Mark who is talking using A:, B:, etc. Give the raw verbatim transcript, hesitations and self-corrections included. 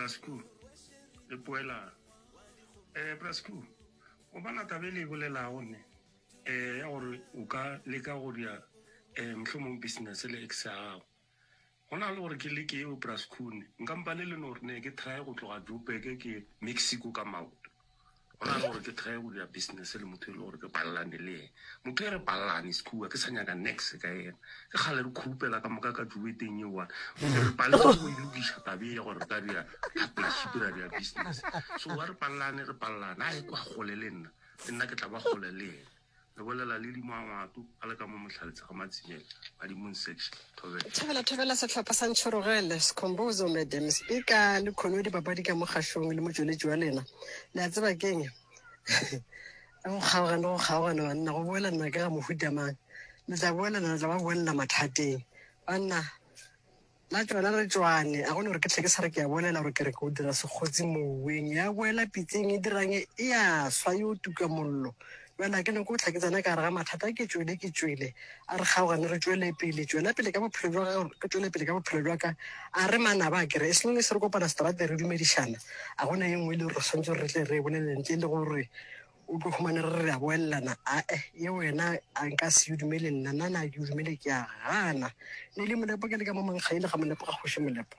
A: Brasco le poelano. um Brasco, o bona taba e le e bolelago ne um ya gore o ka leka go dia um mohlomong business le ex ya gago. Go na le gore ke leke eo Brasco ne nka mpane le no gore ne ke try go tloga Joburg ke Mexico ka maoto. Go na le gore ke try go dira business le motho e le gore ke palelane le ena. Motho e re palelane sekhuwa ke sa nyaka nex ka ena. Ke kgale re khupela ka moka ka dueteng eo one. Re paletse go e lokiša taba e ya gore re ka dira partnership ra dira business. So wa re palelane re palelane a e kwa gole le nna le nna ke tla ba gole le ena. Le bolela le dingwangwato a le ka mo Mohlaletse ga Matsimela badimong section. Thobela.
B: Thobela thobela sehlopha sa Ntšhorogele Sekhombozo Madam Speaker le Khono dipapadi ka mogašong le motšweletši wa lena. Le a tseba keng? Go kgaogana go kgaogana banna go boelana ke ga mohuta mang. Le tla boelana le tla ba boelela mathateng. Banna la tšona re tšwane a gone gore ke tle ke sa re ke a bolela gore ke re ke o dira sekgotsi moweng ya boela pitseng e dirang e ya swa yo tuka mollo. Bjale ke nyako tla ke tsena ka gare ga mathata ke tšwele ke tšwele a re kgaogane re tšwele pele tšwela pele ka bophelo bja gago ke tšwele pele ka bophelo bja ka a re manaba a kere as long as re kopana seterateng re dumedišana a gona ye nngwe e le gore re swanetše gore re tle re e bolele ntle le gore o tlo humane re re a boelelana ae ye wena a nka se o dumele nna nna na ke o dumele ke a gana ne le molepo ke le ka mo mankgaile ga molepo ga kgoši molepo.